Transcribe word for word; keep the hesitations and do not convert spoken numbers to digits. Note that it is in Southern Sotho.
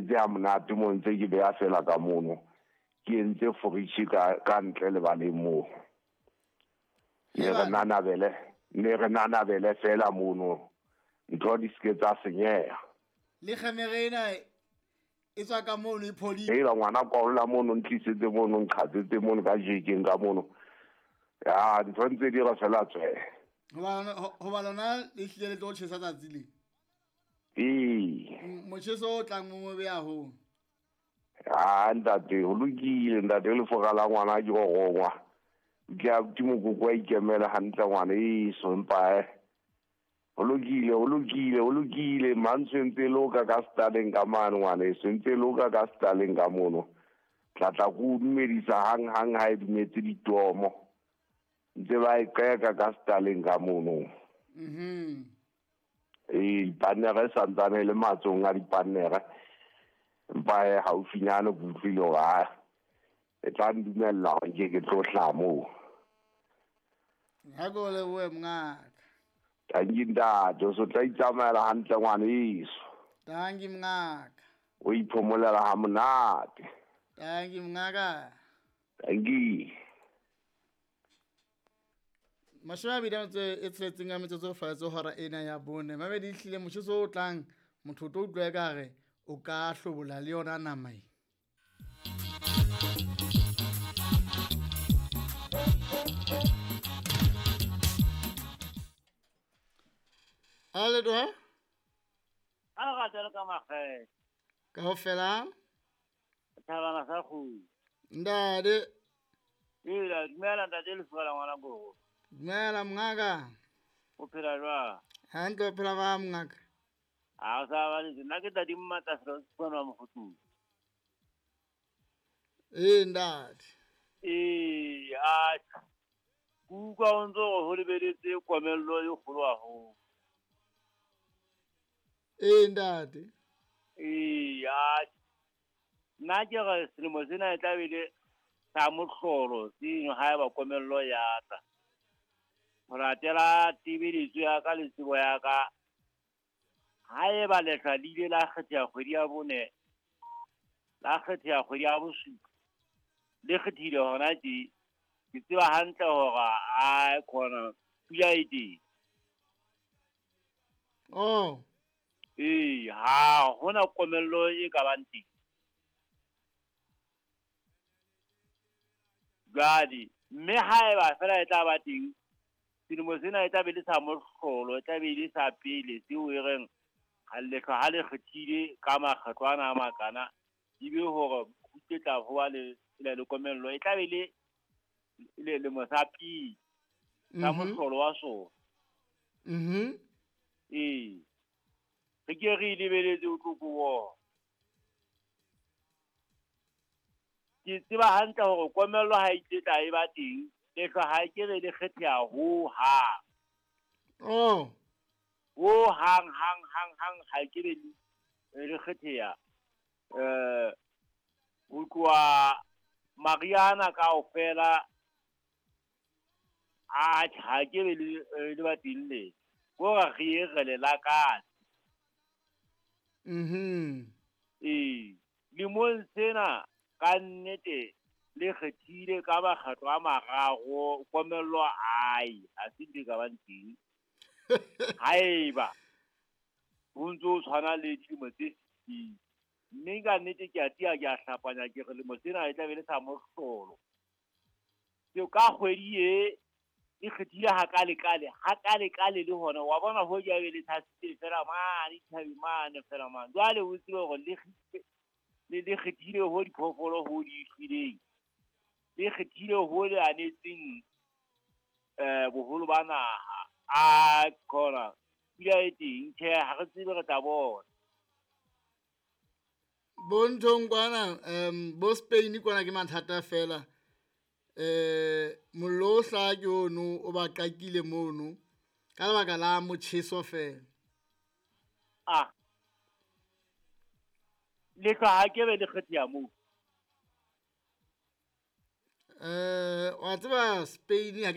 ntshetse ha monate mo ntse ke beya fela ka mono. Ke entse fridge ka ka ntle lebaleng moo. Ne re nanabele, ne re nanabele fela mono. Ntho di se ke tsa senyeha. Le kgemere ena e tswa ka mono e phodile. Hela ngwana kwaolla mono, ntlisetse mono, nqhatsetse mono ka jekeng ka mono. Ya ntho ntse di re fela tswe. Hoba lona le hlile le tlo tjhesa tsatsi le. Ee. Motjheso o tlang mo mobe haholo. Ah ntate, ho lokile ntate, le foka la ngwana ke go gongwa. Ke a ke mokoko wa ikemela hantle ngwana eso empa eh. Ho lokile, ho lokile, ho lokile, mantswe ntse loka ka staleng ka mane ngwana eso, ntse loka ka staleng ka mono. Tla tla go dumedisa hang hang ha e dumetse ditomo. Ntse ba e qeka ka staleng ka mono. Mhm. Ee, dipannere santsane le matsong a dipannere. Empa e haufinyane ke utlwile hore ha e tla ndumella hore nke ke tlo hlaha moo. Ha ke o lebohe mongaka. Tanki ntate, o so tla itsamaela hantle ngwaneso. Tanki mongaka. O iphomolela ha monate. Tanki mongaka. Tanki. Mashome a mabedi a metso e tsheletseng ka metsotso fatshe hora ena ya bone. Mabedi ehlile motjheso o tlang motho o tlo utlwa ekare o ka hlobola le yona nama e. Ale do ha? A ga tsela ka makgethe. Kaofela? Thabana sa kgolo. Ntate. Ee, dumela ntate le fola ngwana gogo. Dumela mongaka. O phela jwang? Hantle, o phela ba mongaka. A sa ba le nna ke tadi mmata fela tswana wa mofutu. Ee ntate. Ee, a kuka o ntso ho lebeletse komello e kgolo haholo. Ee ntate. Ee, a nna ke re selemo sena e tla be le sa mohlolo seno haeba komello ya tla. Ho latela tebeletso ya ka le tsebo ya ka, haeba lehlwa le ile la kgetheha kgwedi ya bone, la kgetheha kgwedi ya bosupa, le kgethile hona tje, ke tseba hantle hore a khona pula e teng. Oh. Ee, ha hona komello e ka bang teng. Jwale, mme haeba fela e tla ba teng, selemo sena e tla be le sa mohlolo, e tla be le sa pele seo e reng ha lehlwa ha le kgethile ka makgetlo ana a makana, ebe hore ho tla ho ba le le komello, e tla be le le lemo sa pele sa mohlolo wa sona. Mhm. Ee. Re ke re lebeletse o tlo ko. Ke tseba hantle hore komello ha e tla e ba teng, lehlwa ha ke re le kgetheha ho hang. Oh. Ho hang hang hang hang ha ke be le kgetheha. Eh ho tloha Mariana kaofela a ha ke be le le ba teng le. Ko re re re le lakatse. Mhm. Ee, lemong sena ka nnete le kgethile ka makgetlo a mararo komello ai ha se ntho e ka bang teng. Haeba ho ntso tshwana le dilemo tse fetileng. Mme ka nnete ke a tia ke a hlapanya ke re lemo sena e tla be le sa mohlolo. Ke ka kgwedi e e kgethile hakalekale, hakalekale le hona wa bona ho ja be le thasitse fela mane thabi mane fela mane. Jwale o tsebe hore le le le kgethile ho diphoofolo ho di shweleng. Le kgethile ho le anetseng eh boholo ba naha. A khona pula e teng, tjhe ha re tsebe re tla bona. Bonthong kwana um bo Spain kwana ke mathata fela. Eh mollo o hlaha ke ono o ba qakile mono ka lebaka la motjheso fela. Ah. Lehlwa ha ke be le kgetheha moo. Eh wa tseba Spain ha ke